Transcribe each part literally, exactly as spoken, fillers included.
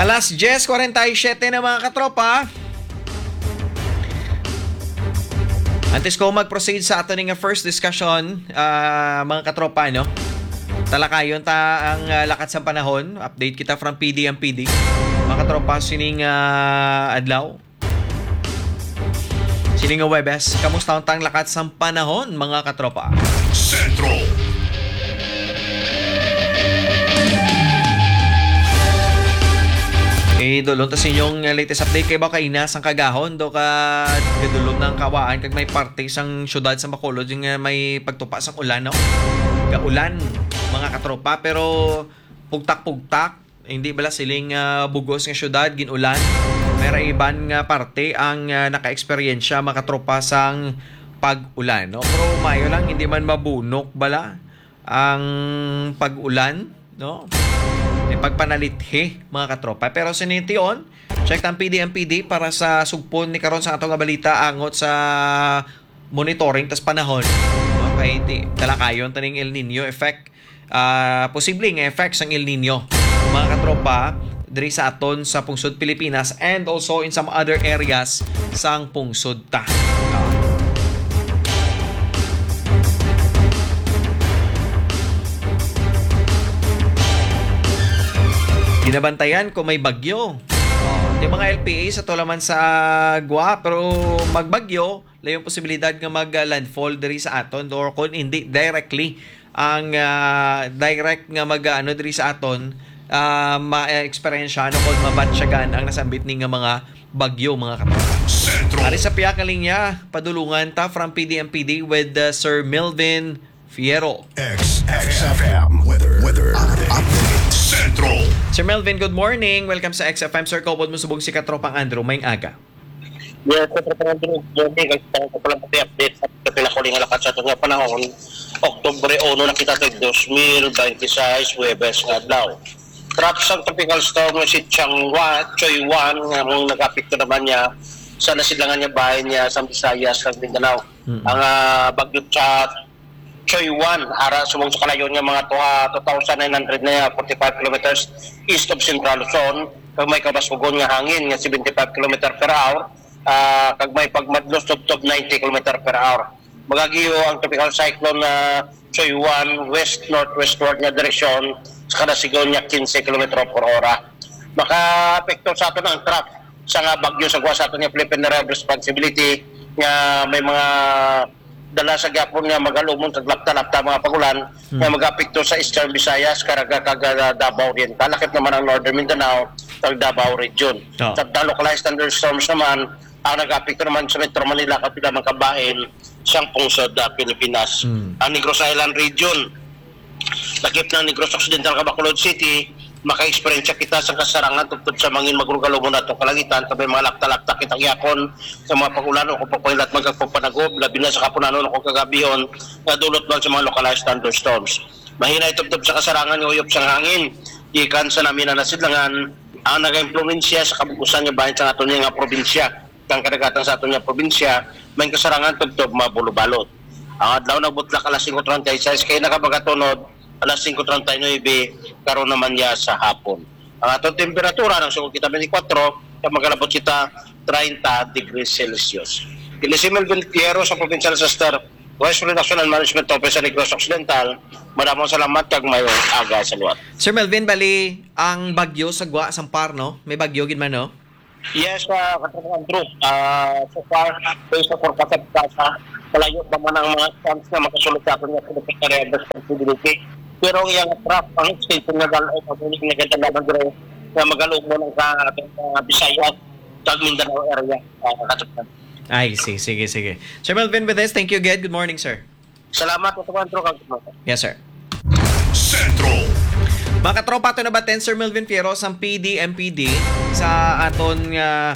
Alas diyes kwarenta y siyete na, mga katropa. Antes ko mag-proceed sa ato ning first discussion, ah, mga katropa, no? Talakayon ta ang, ah, lakat sa panahon. Update kita from P D M P D. Mga katropa, sining, ah, adlaw. Sini nga Webes, kamusta ang tang lakat sang panahon, mga katropa? Sentro. Eh, dulong ta sa inyong, uh, latest update kay ba kaina sang kagahon, do ka gadulom na ang kawaan kag may parte sang syudad sa Bacolod yung, uh, may pagtupa sang ulan, no? Gaulan, mga katropa, pero pugtak-pugtak, hindi bala siling, ah, bugos nga syudad, gin-ulan. May ra iban nga parte ang, ah, naka-eksperyensya, mga katropa, sang pag-ulan, no? Pero maayo lang, hindi man mabunok bala ang pag-ulan, no? May pagpanalithi, mga katropa. Pero sa tion, check ang P D M P D para sa sugpon ni karon sa ato nga balita angot sa monitoring tas panahon. Okay, di, talakayon ta ning El Nino effect. Ah, posible nga effects sang El Nino, mga katropa, diri sa aton sa pungsod Pilipinas and also in some other areas sang pungsod ta. Ah. Ginabantayan ko may bagyo. Oh, di mga L P A sa tulaman sa gwa, pero magbagyo, layo ang posibilidad nga mag-landfall diri sa aton or kung hindi directly ang, ah, direct nga mag, ah, ano diri sa aton, ah, ma-eksperyensyahan o kung mabatsyagan ang nasambit ni nga mga bagyo, mga katropa. Sentro. Ari sa piyak nga linya, padulungan ta from P D M P D with, uh, Sir Melvin Fierro. X F M weather, weather update. Sentro. Sir Melvin, good morning. Welcome sa X F M. Sir, kaupod mo subong si Katropang Andrew. Maayong aga. Yes, sa Katropang Andrew, good morning. Ang sa pala update sa pinakuling nga lakat sa aton nga panahon. Oktubre uno na kita kay dos mil bente seis, Huwebes nga adlaw. Trough sang tropical storm nga si Changwa, Choy Wan, nga mong nag-apekto naman niya sa nasidlangan niya bahin niya sa Visayas kag Mindanao. Mm. Ang, ah, bagyo sa Choy Wan, ara subong sa kalayon nga mga two, ah, two thousand nine hundred na forty-five kilometers east of Central Luzon, kag may kabaskugon nga hangin nga seventy-five kilometer per hour, ah, kag may pagmadlos tubtob ninety kilometer per hour. Magagiyo ang tropical cyclone na Choy Wan west-northwestward nga direksyon sa kada sigon nga quince kilometro por hora. Makaapekto sa aton ang trough sa nga bagyo sa gwa sa aton nga Philippine Area of Responsibility nga may mga dala sa gyapon nga magalumon kag lapta-lapta mga pagulan Hmm. nga mag-apekto sa Eastern Visayas, Caraga, kag, ah, Davao Oriental. Lakip naman ang Northern Mindanao, kag Davao Region. Ah. Sa localized thunderstorms naman, ang nag-apekto naman sa Metro Manila, kag pila man ka bahin sang pungsod, ah, Pilipinas. Hmm. Ang Negros Island Region, lakip ng Negros Occidental, kag Bacolod City, maka-eksperyensya kita sa kasarangan tubtob sa mangin magrugalumon atong kalangitan, kag may mga lapta-lapta kita gyapon sa mga pag-ulan o kung pagpahilat man kag pagpanagob, labi na sa kahaponanon o kung kagabihon, nga dulot man sa mga localized thunderstorms. Mahinay tubtob sa kasarangan nga uyop sang hangin gikan sa nami na nasidlangan ang nagaimpluwensya sa kabug-usan nga bahin sa aton nga probinsya. Kang kadagatan sa aton nga probinsya, may kasarangan tubtob mabulobalot. Ang adlaw nagbutlak alas singko treinta y seis kay nakapagatunod alas singko treinta y nuebe, karon naman niya sa hapon. Ang aton temperatura, nagsugod kita twenty-four, kag magalabot kita treinta degrees Celsius. Kini si Melvin Fierro sa Provincial Disaster Risk Reduction and Management Office sa Negros Occidental. Madamo salamat kag maayong aga sa liwat. Sir Melvin, bali ang bagyo sa gwa sang par, no? May bagyo gid man, no? Yes, ah, Katropang Andrew. Ah, so far, based sa forecast sa PAGASA, malayo pa man ang mga chance nga makasulod sa aton nga Secretary of Responsibility. Pero ang iyang trough, ang extension nga dal-, ay pamuling nga ganda lamang dire nga magalumon ang sa ating, ah, Visayas, sa Mindanao area, ah, Katropang. Ay, si-, sige, sige. Sir Melvin Bedes, thank you again. Good morning, sir. Salamat, Katropang Andrew, kag Yes, sir. Sentro. Mga katropa, ato nabaton Sir Melvin Fierro sang P D M P D sa aton nga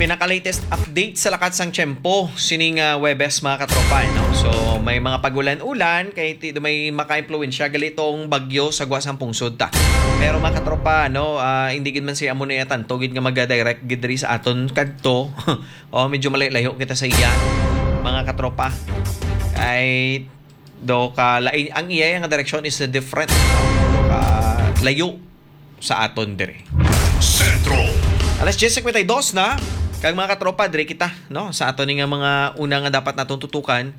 pinaka-latest update sa lakat sang tiyempo sining, ah, Huwebes, mga katropa, eh, no? So, may mga pagulan-ulan kay ti-, may makaimpluwensya gali tong bagyo sa gwa sang pungsod ta. Pero, mga katropa, no, ah, hindi gid man siya amo na tanto gid nga maga-direct gid diri sa aton kadto. Oh, medyo malayo-layo kita sa iya, mga katropa. Ay, do ka lain, ang iya nga direksyon is different. Do ka layo sa aton dire. Sentro. Alas diyes cincuenta y dos na. Kag mga katropa, diri kita, no? Sa ato ni nga mga una nga dapat natong tutukan,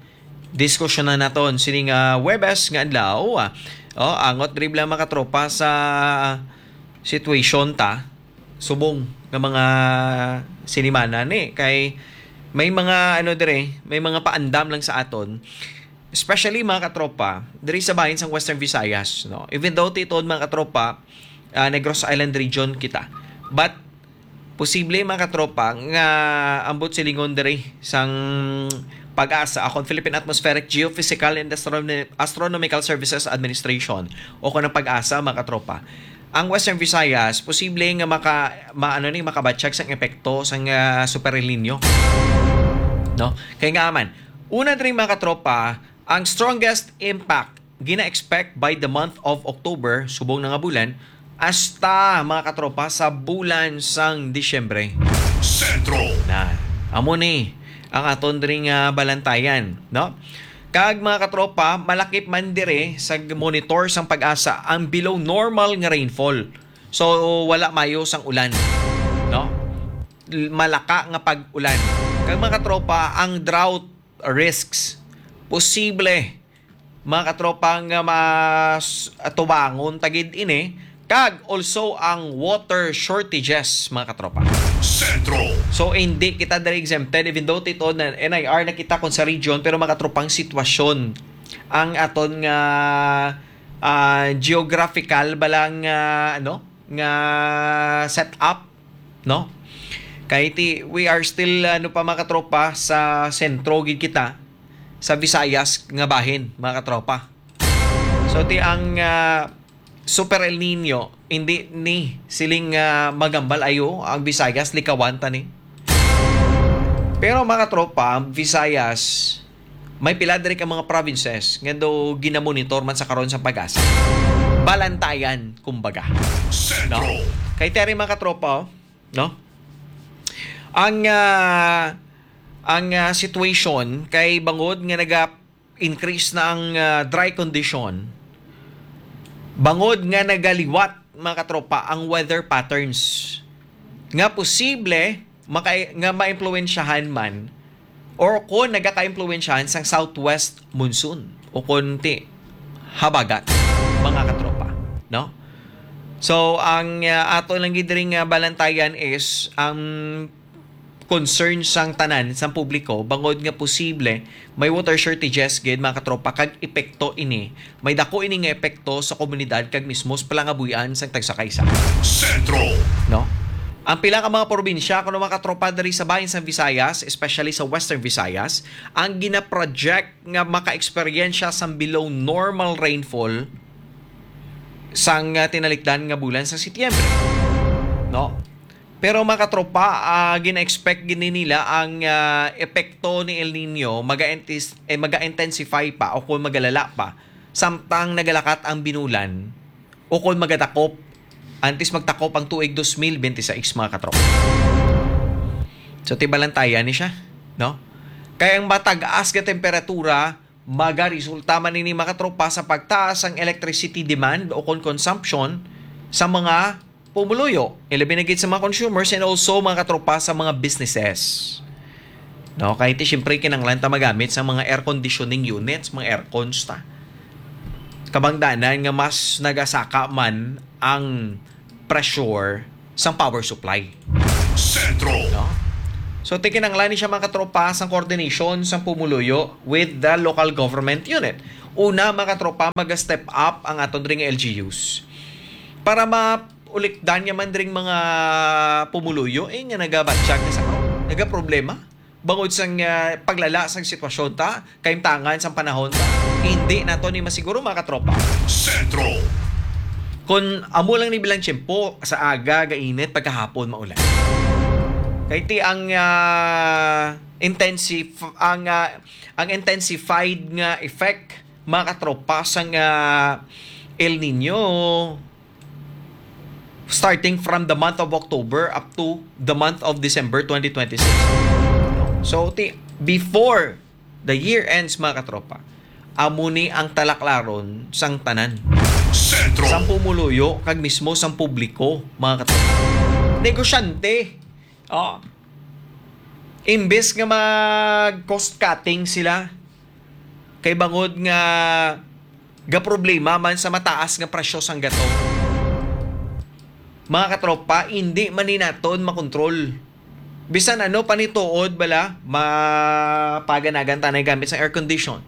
diskusyonan naton sini nga Huwebes nga adlaw. Ah. Oh, angot diri lang mga katropa sa situation ta subong nga mga sinimana ni kay may mga ano dire, may mga paandam lang sa aton, especially mga katropa diri sa bahin sang Western Visayas, no? Even though titon mga katropa, ah, Negros Island region kita, but posible mga katropa nga ambot silingon diri sang PAGASA, akon Philippine Atmospheric, Geophysical and Astronomi- Astronomical Services Administration o kung ang PAGASA, mga katropa, ang Western Visayas posible nga maka maano ni makabatyag sang epekto sang ah, Super El Nino, no? Kay nga man, una diri mga katropa, ang strongest impact gina-expect by the month of October, subong na nga bulan, hasta mga katropa sa bulan sang Disyembre. Sentro. Na, amo ni ang aton diri nga balantayan, no? Kag mga katropa, malakip man dire sa monitor sang PAGASA ang below normal nga rainfall. So wala mayo sang ulan, no? L- Malaka nga pag-ulan. Kag mga katropa, ang drought risks posible mga katropa nga mas tubangon tagid ini, kag also ang water shortages, mga katropa. Sentro. So hindi kita diri exempted, even though tito na N I R na kita kon sa region, pero mga katropang sitwasyon ang aton nga ah, geographical ba lang nga ano nga setup, no? Kay ti we are still ano pa mga katropa sa sentro gid kita sa Visayas nga bahin, mga katropa. So ti ang ah, Super El Nino hindi ni siling ah, magambal ayo ang Visayas, likawan ta ni. Pero mga katropa, ang Visayas may pila diri ka mga provinces nga do ginamonitor man sa karon sa PAGASA. Balantayan, kumbaga. No? Kay tari mga katropa, oh, no? Ang ah, ang ah, situation kay bangod nga naga-increase na ang ah, dry condition, bangod nga nagaliwat mga katropa ang weather patterns nga posible maka- nga maimpluwensyahan man or kon nagakaimpluwensyahan sang southwest monsoon o kon ti habagat, mga katropa, no? So ang ah, ato lang gid diri nga balantayan is ang concern sang tanan sang publiko bangod nga posible may water shortages gid, mga katropa, kag epekto ini, may dako ini nga epekto sa komunidad kag mismo sa palangabuhian sang tagsa ka isa. Sentro. No? Ang pila ka mga probinsya, kuno mga katropa, diri sa bahin sang Visayas, especially sa Western Visayas, ang ginaproject nga maka-eksperyensya sang below normal rainfall sang ah, tinalikdan nga bulan sa Setyembre. No? Pero mga katropa, ah, gina-expect gini nila ang ah, epekto ni El Nino maga-intis- eh, maga-intensify pa o kung magalala pa samtang nagalakat ang binulan o kung magadakop antes magtakop ang tuig dos mil bente sais, mga katropa. So tibalantayan ni siya, no? Kay ang matag-as nga temperatura magaresulta man ini, mga katropa, sa pagtaas ang electricity demand o kon consumption sa mga pumuluyo, ilabi na gid sa mga consumers and also, mga katropa, sa mga businesses. No, kay ti siyempre kinahanglan ta magamit sa mga air conditioning units, mga aircons ta. Kabangdanan nga mas nagasaka man ang pressure sang power supply. Sentro. No? So, ti kinahanglan ni siya, mga katropa, sang coordination sang pumuluyo with the local government unit. Una, mga katropa, mag-step up ang aton ring L G Us para maulikdan niya man ring mga pumuluyo eh, nga nagabatyag na sa nagaproblema bangod sang ah, paglala sang sitwasyon ta, kaimtangan sang panahon ta. Hindi nato ni masiguro, mga katropa. Sentro. Kung amo lang ni bilang tiyempo sa aga, gainit, pagkahapon maulan. Kay ti ang ah, intensif ang ah, ang intensified nga effect, mga katropa, sang ah, El Nino starting from the month of October up to the month of December twenty twenty-six. So, ti, before the year ends, mga katropa, amo ni ang talaklaron sang tanan. Sentro. Sang pumuluyo kag mismo sang publiko, mga katropa. negosyante. Oh. Imbes nga mag cost cutting sila, kay bangod nga gaproblema man sa mataas nga presyo sang gatong. Mga katropa, hindi man ni naton makontrol. Bisan ano pa ni tuod bala, mapaganagan tanay gamit sa air condition.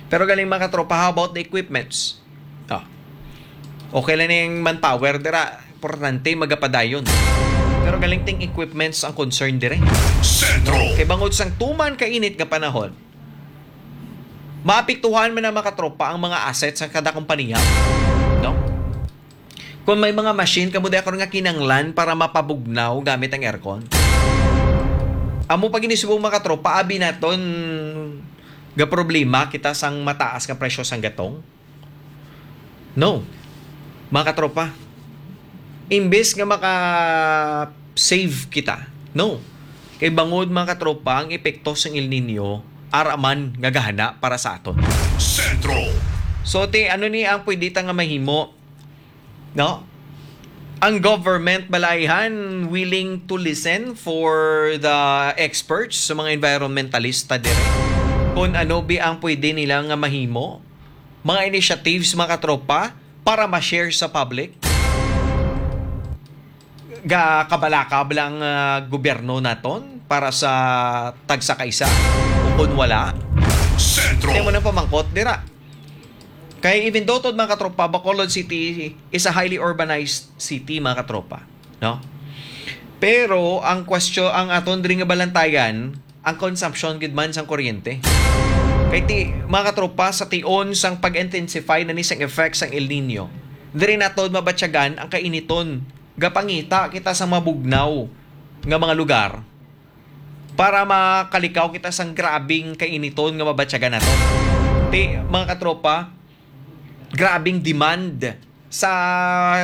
Pero galing, mga katropa, how about the equipments? Ah. Okay lang yung manpower dira, importante magapadayon. Pero galing ting equipments ang concern dire. Sentro. Kay bangod sang tuman kainit nga panahon, maapektuhan man ang, mga katropa, ang mga assets sa kada kompanya. No? Kung may mga machine kamo di ako nga kinanglan para mapabugnaw gamit ang aircon. Amo pa gini subong, mga katropa, abi naton ga problema kita sang mataas nga presyo sang gatong. No. Mga katropa, imbes nga maka-save kita, no. Kay bangod, mga katropa, ang epekto sang El Nino, ara man nga gahana para sa aton. Sentro. So, ti, ano ni ang pwede ta nga mahimo, no? Ang government, balay han, willing to listen for the experts, sa mga environmentalista dire, kung ano bi ang pwede nila nga mahimo, mga initiatives, mga katropa, para ma-share sa public. Ga kabalaka ba lang, ah, gobyerno naton para sa tagsa ka isa? O kung wala, Sentro. Kaya mo nang pamangkot dira. Kay even though, mga katropa, Bacolod City is a highly urbanized city, mga katropa, no? Pero ang question, ang aton diri nga balantayan, ang consumption gid man sang kuryente. Kay ti, mga katropa, sa tion sang pag-intensify na ni sang effects sang El Nino, diri naton mabatyagan ang kainiton. Gapangita kita sa mabugnaw nga mga lugar para makalikaw kita sang grabing kainiton nga mabatyagan naton. Ti, mga katropa, grabing demand sa,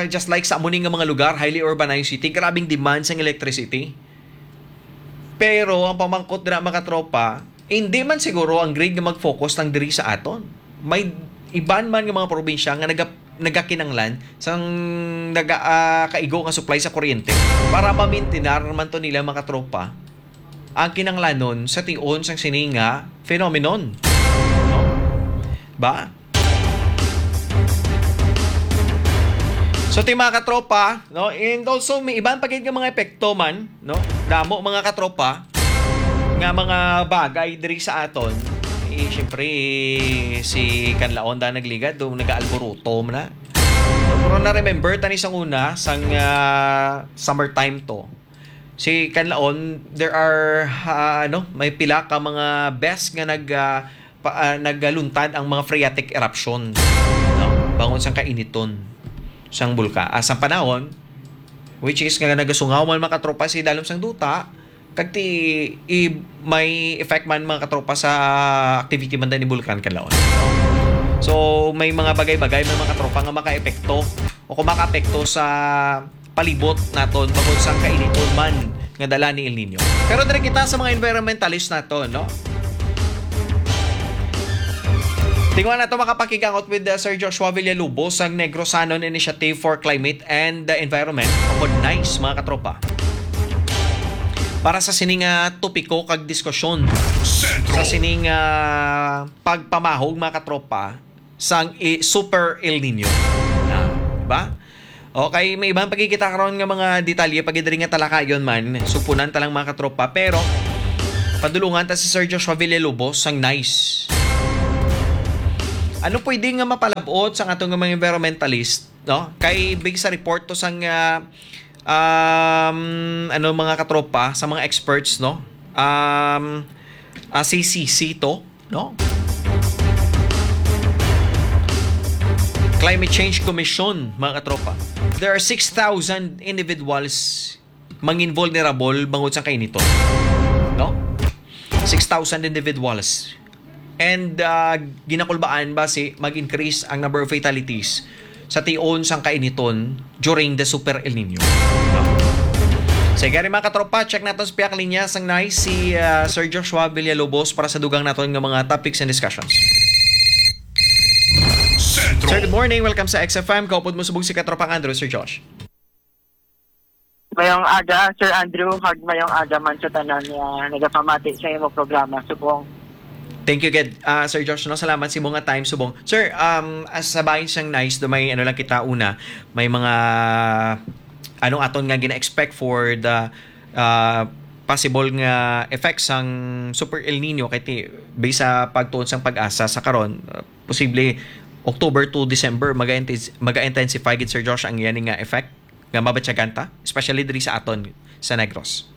just like sa amo ni nga mga lugar, highly urbanized city, grabing demand sang electricity. Pero ang pamangkot dira, mga katropa, hindi man siguro ang grid nga mag-focus lang diri sa aton. May iban man nga mga probinsya nga naga-, nagakinanglan sang naga, ah, kaigo nga supply sa kuryente para mamintinar man to nila, mga katropa, ang kinanglanon sa tion sang sini nga phenomenon. No? Ba? So, ti, mga katropa, no? And also, may iban pa gid nga mga epekto man, no? Damo, mga katropa, nga mga bagay diri sa aton. Eh, siyempre, si Kanlaon da nagligad, do, nag-aalburuto man na. Pero na-remember tani sang una, sang, ah, summertime to. Si Kanlaon, there are, ah, ano, may pila ka mga beses nga nag, ah, pa, ah, nagluntad ang mga phreatic eruption, no? Bangon sang kainiton sang bulka-, ah, sang panahon, which is nga nagasungaw man, mga katropa, sa idalom sang duta, kag ti, i-, may effect man, mga katropa, sa activity man din ni Bulkan Kanlaon, no? So, may mga bagay-bagay, may mga katropa nga makaepekto o kung makaapekto sa palibot naton bangod sang kainiton man nga dala ni El Nino. Pero diri kita sa mga environmentalist naton, no? Tingnan nato, makapakigangot with, uh, Sir Joshua Villalobos sang Negrosanon Initiative for Climate and the Environment, o NICE, mga katropa. Para sa sini nga topiko kag diskusyon, Sentro. Sa sini nga pagpamahog, mga katropa, sang i-, Super El Nino. Na, di ba? Okay, may iban pa gid kita karon nga mga detalye pa gid diri nga talakayon man. Supunan ta lang, mga katropa, pero padulungan ta si Sir Joshua Villalobos sang NICE. Ano pwede nga mapalab-ot sa aton nga mga environmentalist, no? Kay big sa report to sang, ah, um, ano, mga katropa, sa mga experts, no? Um, ah, C C C to, no? Climate Change Commission, mga katropa. There are six thousand individuals mangin vulnerable bangod sa kainiton. No? Six thousand individuals. And, ah, ginakulbaan ba si mag-increase ang number of fatalities sa tion sang kainiton during the Super El Nino? No? Sige, mga katropa, check natin sa piyak linya sang NICE si, ah, Sir Joshua Villalobos para sa dugang naton nga mga topics and discussions. Sentro. Sir, good morning. Welcome sa X F M. Kaupod mo subong si Katropang Andrew, Sir Josh. Mayong aga, Sir Andrew, kag mayong aga man sa tanan nga nagapamati sa imo programa, subong. Thank you gid, ah, Sir Josh, no? Salamat sa imo nga time, subong. Sir, um, as sa bahin sang nice, do may ano lang kita una, may mga anong aton nga gina-expect for the, ah, possible nga effects sang Super El Nino kay ti, based sa pagtuon sang PAGASA sa karon, uh, posible October to December maga-intis-, maga-intensify gid, Sir Josh, ang yani nga effect nga mabatyagan ta, especially diri sa aton sa Negros.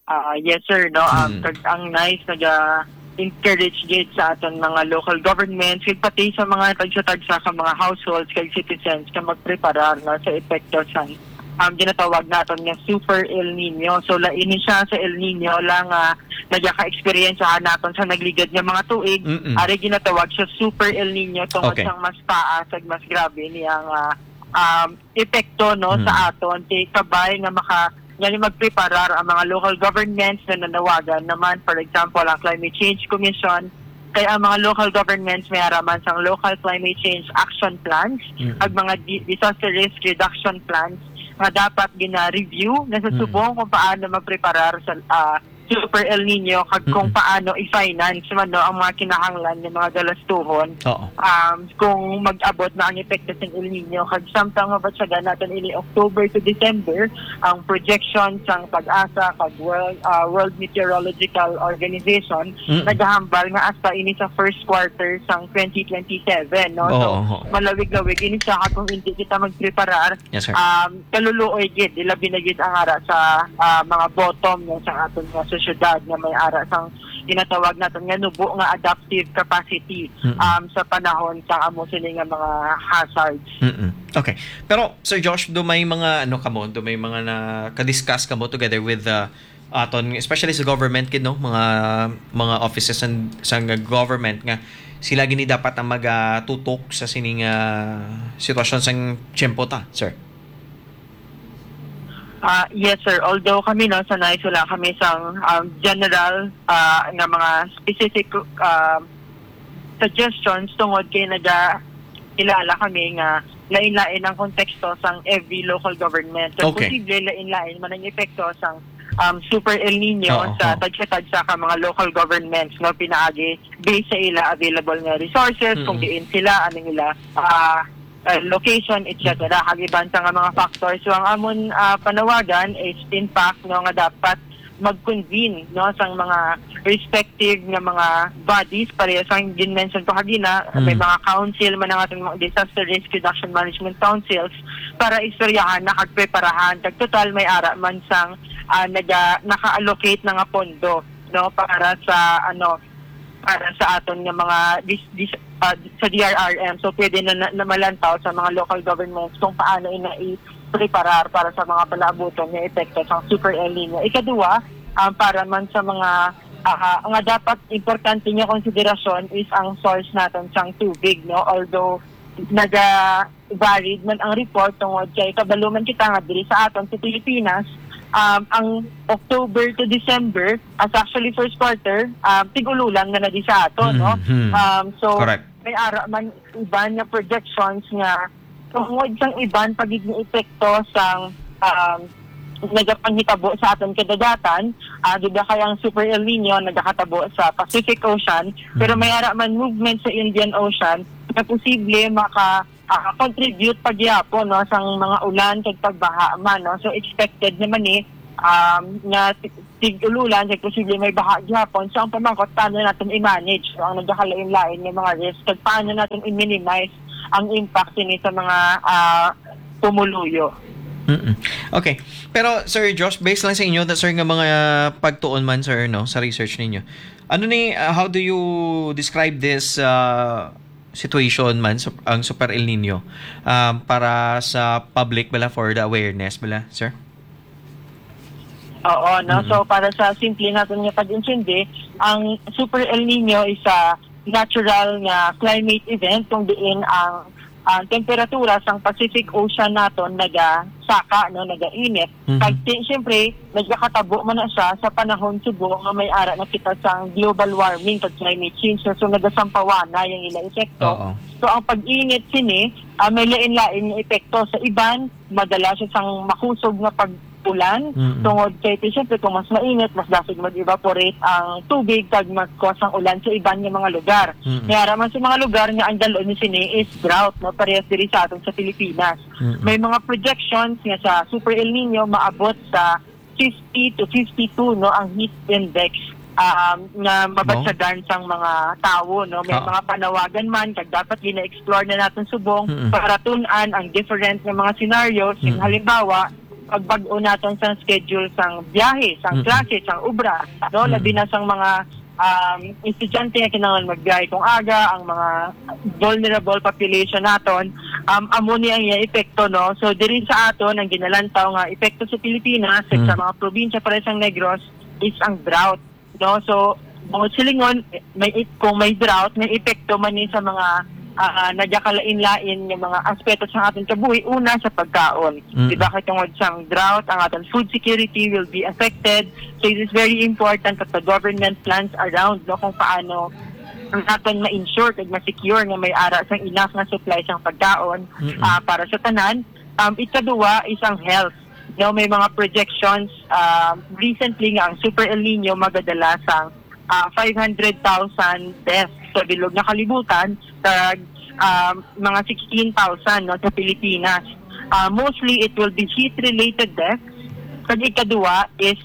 Ah, yes, sir, no. Um, Mm. Kag ang nice naga-encourage gid sa aton mga local governments, kag pati sa mga tagsa-tagsa ka mga households kag citizens nga magpreparar, no, sa epekto sang, um, ginatawag naton nga Super El Nino. So, lain ni siya sa El Nino lang nga nagaka-experience naton sa nagligad nga mga tuig. Mm-mm. Ari ginatawag siya Super El Nino tungod Okay. sang mas taas kag mas grabe niyang, ah, um, epekto, no, Mm. sa aton. Kay kabay nga maka-, nga magpreparar ang mga local governments nga nanawagan naman, for example, ang Climate Change Commission, kay ang mga local governments may ara man sang local climate change action plans, Mm. ag mga di-, disaster risk reduction plans nga dapat gina-review na sa Mm. subong kung paano magpreparar sa, ah, Super El Nino, kag kung Mm. paano i-finance man, no, ang mga kinahanglan nga mga galastuhon, Oo. um, kung mag-abot na ang epekto sang El Nino, kag samtang mabatyagan naton ini October to December, ang projection sang PAGASA kag World, ah, World Meteorological Organization Mm. nagahambal nga hasta ini sa first quarter sang twenty twenty-seven, no? So, Oo, oo. malawig-lawig ini siya, kag kung hindi kita magpreparar, Yes, sir. um, kaluluoy gid, ilabi na gid ang ara sa, ah, mga bottom, no, sa aton nga sosyedad nga may ara sang ginatawag naton nga nubo nga adaptive capacity, Mm-mm. um, sa panahon sa amo sini nga mga hazards. Mm-mm. Okay. Pero, Sir Josh, do may mga, ano, kamo, do may mga naka-discuss kamo together with, uh, aton, especially sa government gid, no, mga, mga offices and sa government nga sila gini dapat ang magatutok sa sining, ah, sitwasyon sang tiyempo ta, sir? Ah, yes, sir. Although kami, no, sa nice, wala kami sang, um, general, ah, nga mga specific, um, suggestions tungod kay naga-, kilala kami nga lain-lain ang konteksto sang every local government. So, Okay. posible lain-lain man ang epekto sang, um, Super El Nino Oo, sa oo. tagsa-tagsa ka mga local governments, no, pinaagi based sa ila available nga resources, kung Mm. diin sila, anong ila, ah, ah, location, et cetera. Mm. Kag iban sa nga mga factors. So, ang amon, ah, panawagan is, in fact, no, nga dapat mag-convene, no, sang mga respective nga mga bodies, pareho sang gin-mention ko kagina, may Mm. mga council man ang ating mga disaster risk reduction management councils para istoryahan na kag preparahan. Kag total may ara man sang, ah, naga-, naka-allocate na nga pondo, no, para sa, ano, para sa aton nga mga dis-, dis-, ah, sa D R R M. So, pwede na, na, na malantaw sa mga local governments kung paano ina i-preparar para sa mga palaabuton nga epekto sang Super El Nino. Ikaduha, um, para man sa mga, ah, nga dapat importante nga konsiderasyon is ang source naton sang tubig, no? Although naga-varied man ang report tungod kay kabalo man kita nga diri sa aton sa Pilipinas, um, ang October to December, as actually first quarter, um, tig-ululan nga na di sa aton, no? Mhm. Um, so, Correct. may ara man iban nga projections nga tungod sang iban pa gid nga epekto sang, um, nagapanghitabo sa aton kadagatan, ah, di ba kay ang Super El Nino nagakatabo sa Pacific Ocean, pero Mm. may ara man movement sa Indian Ocean na posible maka, ah, contribute pa gyapon, no, sang mga ulan kag pagbaha man, no. So, expected naman ni, um, nga ti-, tig-ululan kag posible may baha gyapon. So, ang pamangkot, paano naton i-manage, no, ang nagakalain-lain nga mga risk, kag paano naton i-minimize ang impact sini sa mga, ah, pumuluyo. Mm-mm. Okay. Pero, Sir Josh, based lang sa inyo, sir, nga mga pagtuon man, sir, no, sa research ninyo, ano ni, uh, how do you describe this, uh, situation man, sup-, ang Super El Nino, um, para sa public bala, for the awareness bala, sir? Oo, no? Mm-mm. So, para sa simple naton nga pag-intindi, ang Super El Nino is a natural nga climate event kung diin ang, ang temperatura sang Pacific Ocean naton nagasaka, no, nagainit. Mhm. Kag ti-, siyempre, nagakatabo man na siya sa panahon subong nga may ara na kita sang global warming kag climate change. So, nagasampawan na yung ila epekto. Oo. So, ang pag-init sini, ah, may lain-lain nga epekto. Sa iban, madala siya sang makusog nga pag-ulan. Mm-mm. Tungod kay, ti, syempre, kung mas mainit, mas dasig mag-evaporate ang tubig kag mag-cause ang ulan sa iban nga mga lugar. Mm-mm. May ara man sa mga lugar nga ang dal-on ni sini is drought, no? Parehas diri sa aton sa Pilipinas. Mm-mm. May mga projections nga sa Super El Nino maabot sa fifty to fifty-two, no, ang heat index, um, nga mabatyagan sang mga tawo, no? May Oo. mga panawagan man, kag dapat gina-explore na naton subong Mm-mm. para tun-an ang different nga mga scenarios. Yung Mm-mm. halimbawa, pagbag-o naton sang schedule sang biyahe, sang Mm-mm. klase, sang obra, no? Mm-mm. Labi na sang mga, um, estudyante nga kinahanglan magbiyahe kung aga, ang mga vulnerable population naton, um, amo ni ang iya epekto, no? So, diri sa aton, ang ginalantaw nga epekto sa Pilipinas, Mm. sa mga probinsya, pareho sang Negros, is ang drought, no? So, bungod silingon, may ep-, kung may drought, may epekto man ni sa mga, ah, nagakalain-lain nga mga aspeto sa aton kabuhi. Una, sa pagkaon. Mm. Di ba? Kay tungod sang drought, ang aton food security will be affected. So, it is very important that the government plans around, no, kung paano ang aton ma-ensure kag ma-secure nga may ara sang enough nga supply sang pagkaon, Mm-mm. ah, para sa tanan. Um, ikaduwa is ang health. No, may mga projections, um, recently nga ang Super El Nino magadala sang, ah, five hundred thousand deaths sa bilog nga kalibutan, kag, um, mga sixteen thousand, no, sa Pilipinas. Ah, mostly, it will be heat-related deaths. Kag ikaduwa is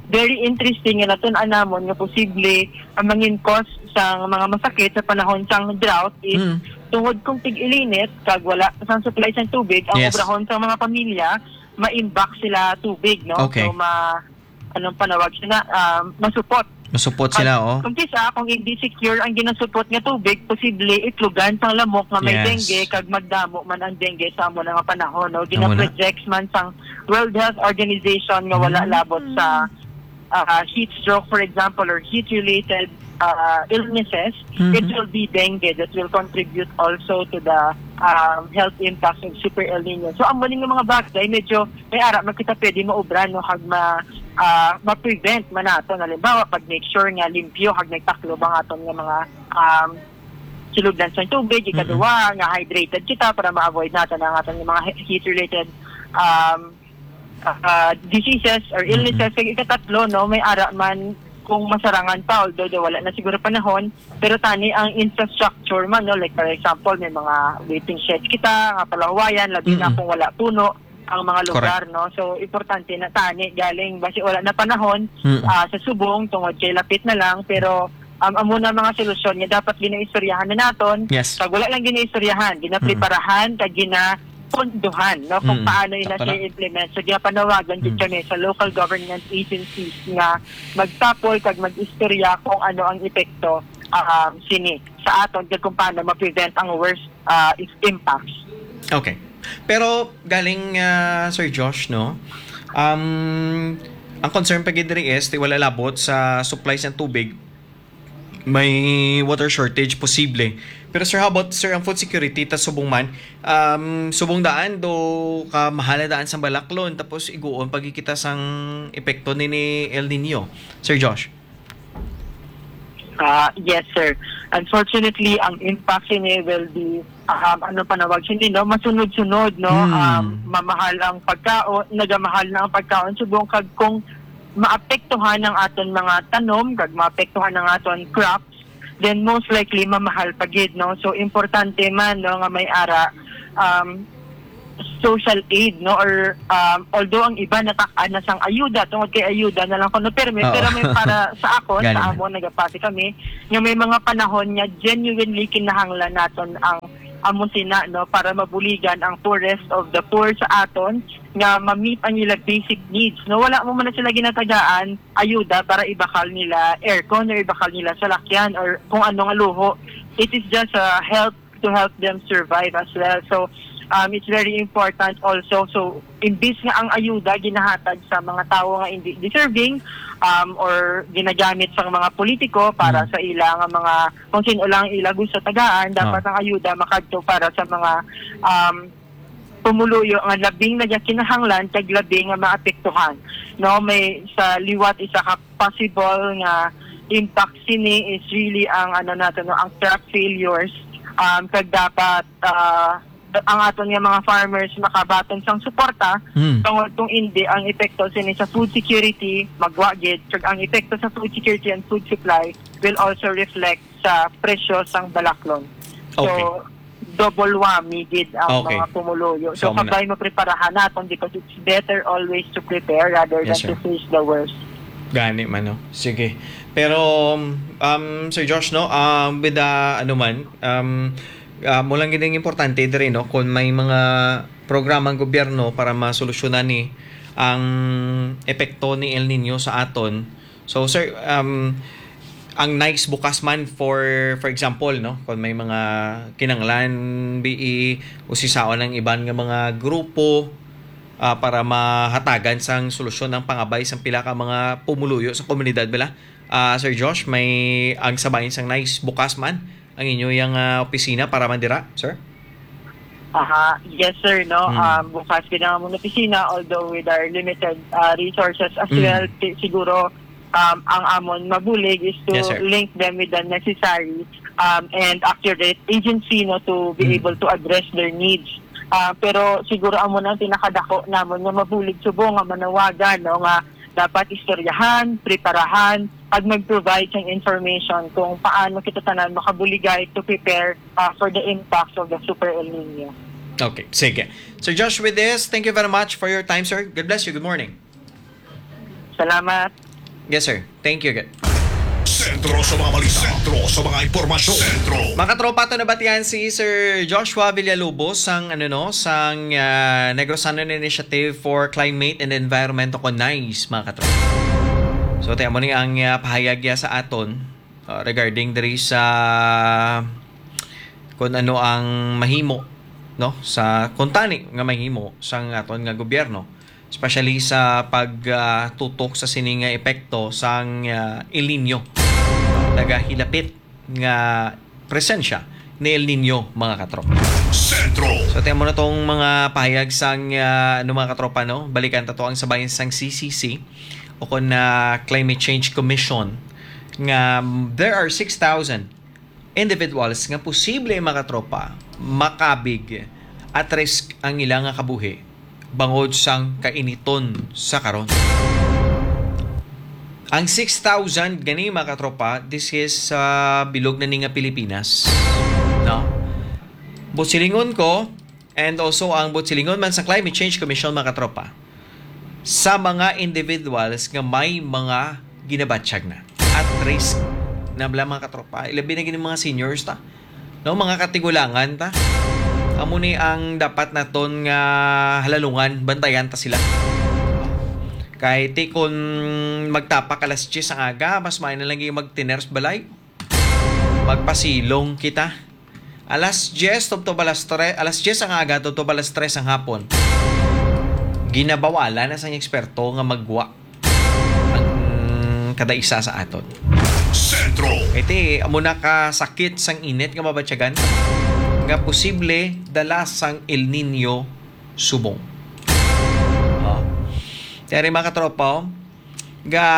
very interesting nga natun-an namon nga posible ang mangin cause sang mga masakit sa panahon sang drought is Mm. tungod kung tig-ilinit kag wala sang supply sang tubig, ang Yes. obrahon sang mga pamilya maimbak sila tubig, no? Okay. So, ma-, anong panawag sila? Ah, masupot. Masupot Kag sila, oh. kung kisa, kung hindi secure ang ginasupot nga tubig, posible itlugan sang lamok nga may Yes. dengue, kag magdamo man ang dengue sa amo na nga panahon, no? Amo na. Gina-project man sang World Health Organization nga wala Mm. labot sa, ah, heat stroke, for example, or heat-related, ah, illnesses. Mhm. It will be dengue that will contribute also to the, um, health impacts of Super El Nino. So, amo ni nga mga bagay, medyo may ara man kita pwede maubra, no, kag ma-, ah, ma-prevent man naton. Halimbawa, pag make sure nga limpyo kag nagtaklob ang aton nga mga, um, sulodlan sang tubig. Ikaduwa, nga hydrated kita para ma-avoid naton ang aton nga mga he-, heat-related, um, ah, diseases or Mm-mm. illnesses. Kag ikatatlo, no, may ara man kung masarangan pa, although daw wala na siguro panahon, pero tani ang infrastructure man, no, like, for example, may mga waiting sheds kita nga palahuwayan, labi na Mm-mm. kung wala puno ang mga lugar, Correct. no? So, importante na tani galing, basi wala na panahon, Mm. ah, sa subong, tungod kay lapit na lang, pero, um, amo na mga solusyon nga dapat ginaistoryahan na naton. Yes. Pag wala lang ginaistoryahan, ginapreparahan, Mm. kag ginapondohan, no? Kung Mm. paano yun na Sakto na. siya i-implement. So, ginapanawagan gid Mm. kami sa local government agencies nga magtapol kag mag-istorya kung ano ang epekto, um, sini sa aton kag kung paano ma-prevent ang worst, ah, is-, impacts. Okay. Pero galing, ah, Sir Josh, no? Um, ang concern pa gid diri is, ti wala labot sa supply sa tubig, may water shortage posible. Pero sir, how about, sir, ang food security ta subong man? Um, subong daan do ka mahala daan sa balaklon, tapos iguon pag kita sang epekto ni, ni El Nino, Sir Josh? Ah, yes, sir. Unfortunately, ang impact sini will be, um, ano panawag sini, no? Masunod-sunod, no? Hmm. Um, mamahal ang pagkaon, nagamahal na ang pagkaon subong kag kung maapektuhan ang aton mga tanom, kag maapektuhan ang aton crops, then most likely mamahal pa gid, no? So, importante man, no, nga may ara, um, social aid, no? Or, um, although ang iba natak-an na sang ayuda, tungod kay ayuda na lang kuno terme, Oo. pero may para sa akon, Galing. sa amo, nagapati kami, nga may mga panahon nga genuinely kinahanglan naton ang amo sina, no? Para mabuligan ang poorest of the poor sa aton, nga ma-meet ang ila basic needs, no? Wala mo man na sila ginatagaan ayuda para ibakal nila aircon or ibakal nila salakyan or kung ano nga luho. It is just a help to help them survive as well. So, um, it's very important also. So, imbis nga ang ayuda ginahatag sa mga tawo nga hindi deserving, um, or ginagamit sa mga politiko para Mm. sa ila nga mga, kung sino lang ila gusto tagaan, dapat Oh. ang ayuda makadto para sa mga, um, pumuluyo nga labing nagakinahanglan kag labi nga maapektuhan. No, may sa liwat isa ka possible nga impact sini is really ang, ano nato, no, ang crop failures, um, kag dapat, ah, ang aton nga mga farmers makabaton sang suporta, Mm. tungod kung hindi, ang epekto sini sa food security, magwa gid, kag ang epekto sa food security and food supply will also reflect sa presyo sang balaklon. So, Okay. double whammy gid ang Okay. mga pumuluyo. So, So, amo na. kabay mapreparahan naton because it's better always to prepare rather Yes, than to sir. face the worst. Gani man, no? Sige. Pero, um, Sir Josh, no, um, with the, ano man, um, ah, mo lang gid ang importante diri, no, kung may mga programa ang gobyerno para masolusyonan ni ang epekto ni El Niño sa aton. So, sir, um, ang nice bukas man for, for example, no, kung may mga kinanglan, bii, usisaon ang iban nga mga grupo, ah, para mahatagan sang solusyon ang pangabay sang pila ka mga pumuluyo sa komunidad, bala. Ah, Sir Josh, may ang sabayan sang nice bukas man ang inyo yang, ah, opisina para man dira, sir? Aha, yes, sir, no? Mm. Um, bukas gid ang among opisina, although with our limited, ah, resources as Mm. well, ti-, siguro, um, ang amon mabulig is to Yes, sir. link them with the necessary, um, and accurate agency, no, to be Mm. able to address their needs. Ah, pero siguro amo na ang pinakadako namon nga mabulig subong nga manawagan, no, nga dapat istoryahan, preparahan, ag mag-provide sang information kung paano kita tanan makabuligay to prepare, ah, for the impacts of the Super El Nino. Okay, sige. Sir Josh, with this, thank you very much for your time, sir. God bless you. Good morning. Salamat. Yes, sir. Thank you again. Sentro sa mga balita. Sentro sa mga impormasyon. Sentro. Mga katropa, to nabatian si Sir Joshua Villalobos sang, ano, no, sang, ah, Negros Annon Initiative for Climate and Environment o kon nice, mga katropa. So, ti amo ni ang, ah, pahayag niya sa aton, ah, regarding diri sa kung ano ang mahimo, no, sa kuntani nga mahimo sang aton nga gobyerno, especially sa pag, ah, tutok sa sini nga epekto sang, ah, El Nino, no? Nagahilapit nga presensya ni El Nino, mga katropa. Sentro. So, ti amo na tong mga pahayag sang, ah, ano, mga katropa, no? Balikan ta to ang sabayan sang C C C o kon, ah, Climate Change Commission nga, mm, there are six thousand individuals nga posible, mga katropa, makabig at risk ang ila nga kabuhi bangod sang kainiton sa karon. Ang six thousand gani, mga katropa, this is sa bilog na ni nga Pilipinas, no? Buot silingon ko, and also ang buot silingon man sa Climate Change Commission, mga katropa, sa mga individuals nga may mga ginabatyag na at risk na bala, mga katropa, ilabi na gini mga seniors ta. No, mga katigulangan ta. Amo ni ang dapat naton nga halalungan, bantayan ta sila. Kay ti kun magtapak alas diyes ang aga, mas maayo na lang gyud magtiners balay. Magpasilong kita. Alas diyes tubtob alas tres, alas diyes ang aga tubtob alas tres ang hapon. Ginabawalan na sang eksperto nga magwa ang kada isa sa aton. Sentro. Iti, amo na ka sakit sang init nga mabatyagan nga posible dala sang El Nino subong. Oh. Kaya rin, mga katropa, oh, ga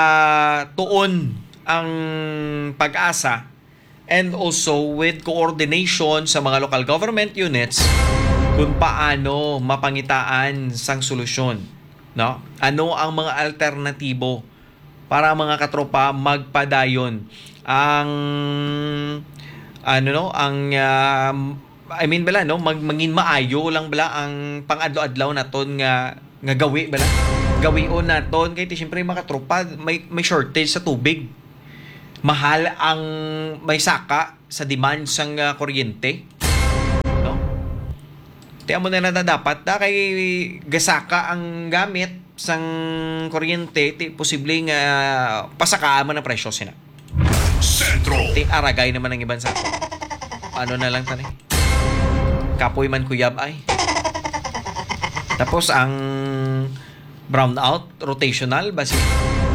tuon ang pag-asa and also with coordination sa mga local government units kung paano mapangitaan sang solusyon, no? Ano ang mga alternatibo para, mga katropa, magpadayon ang, ano, no, ang, um, I mean, bala, no, mag-, mangin maayo lang, bala, ang pang-adlaw-adlaw naton nga, nga gawi, bala. Gawion naton kay ti, siyempre, mga katropa, may, may shortage sa tubig. Mahal ang may saka sa demand sang, ah, kuryente, no? Ti amo na lang na dapat na kay gasaka ang gamit sang kuryente, ti posible nga pasakaan man ang presyo sina. Sentro. Ti aragay naman ang iban sa ato. Ano na lang tani? Kapoy man kuyab ay. Tapos ang brownout, rotational, basi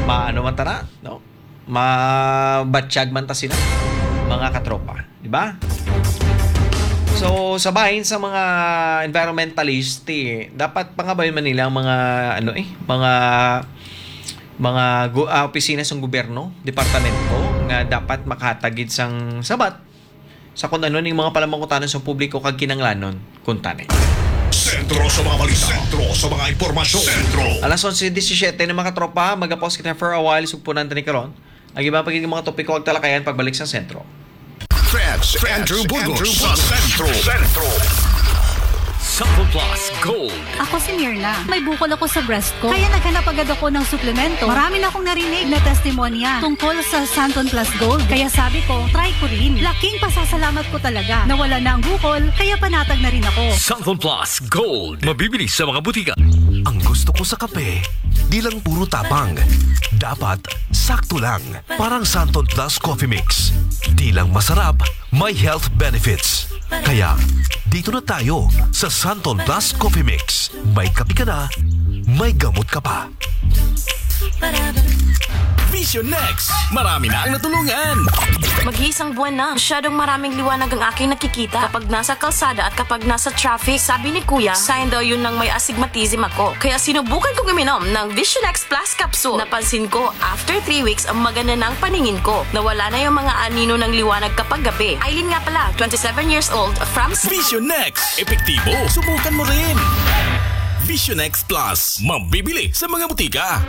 maano man tana, no? Mabatyag man ta sila, mga katropa, di ba? So, sa bahin sa mga environmentalist, ti, dapat pangabayon man nila ang mga, ano, eh, mga, mga gu-, ah, opisina sang gobyerno, departamento, nga dapat makahatag gid sang sabat sa kung ano ning mga palamangkutanan sa publiko kag kinahanglanon kuntani. Sentro sa mga balita. Sentro sa mga impormasyon. Sentro. Alas onse disisiete na, mga katropa, magapos kita for a while, sugpunan tani karon ang iban pa gid nga mga topiko ag talakayan pagbalik sa sentro. Fred, Fred Andrew Burgos sa Sentro. Sentro. Sample Plus Gold. Ako si Mirna. May bukol ako sa breast ko. Kaya naghanap agad ako ng suplemento. Marami na akong narinig na testimonya tungkol sa Santon Plus Gold. Kaya sabi ko, try ko rin. Laking pasasalamat ko talaga. Nawala na ang bukol, kaya panatag na rin ako. Santon Plus Gold. Mabibili sa mga butika. Ang gusto ko sa kape, di lang puro tapang. Dapat sakto lang. Parang Santon Plus Coffee Mix. Di lang masarap, may health benefits. Kaya, dito na tayo sa Santon Plus Coffee Mix. May kape ka na, may gamot ka pa. Vision X, marami na ang natulungan. Mag-iisang buwan na. Masyadong maraming liwanag ang aking nakikita kapag nasa kalsada at kapag nasa traffic. Sabi ni Kuya, sign daw yun ng may astigmatism ako. Kaya sinubukan kong uminom ng Vision X Plus Capsule. Napansin ko, after three weeks, ang maganda ng paningin ko. Nawala na yung mga anino ng liwanag kapag gabi. Eileen nga pala, twenty-seven years old, from Vision X, epektibo. Subukan mo rin. Vision X Plus, mabibili sa mga butika.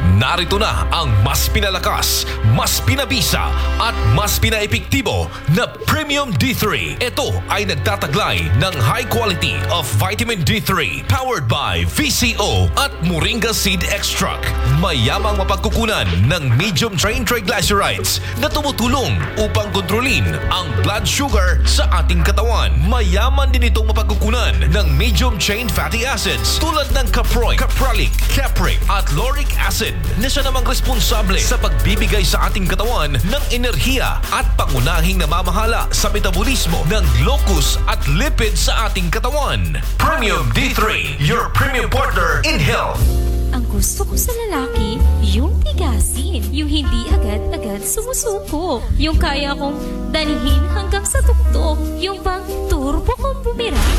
Narito na ang mas pinalakas, mas pinabisa, at mas pinaepektibo na Premium D three. Ito ay nagtataglay ng high quality of vitamin D three, powered by V C O at Moringa Seed Extract. Mayamang mapagkukunan ng medium chain triglycerides na tumutulong upang kontrolin ang blood sugar sa ating katawan. Mayaman din itong mapagkukunan ng medium chain fatty acids tulad ng caproic, capralic, capric, at lauric acid na siya namang responsable sa pagbibigay sa ating katawan ng enerhiya at pangunahing namamahala sa metabolismo ng glucose at lipid sa ating katawan. Premium D three, your premium partner in health. Ang gusto ko sa lalaki, yung tigasin. Yung hindi agad-agad sumusuko. Yung kaya kong dalhin hanggang sa tuktok. Yung bang turbo kong bumirang.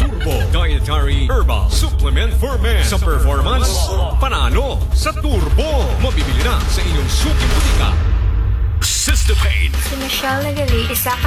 Turbo Dietary Herbal Supplement for Men. Sa performance, panalo. Sa turbo, mabibili na sa inyong suking butika. Sister Pain. Si Michelle Nagali, isa ka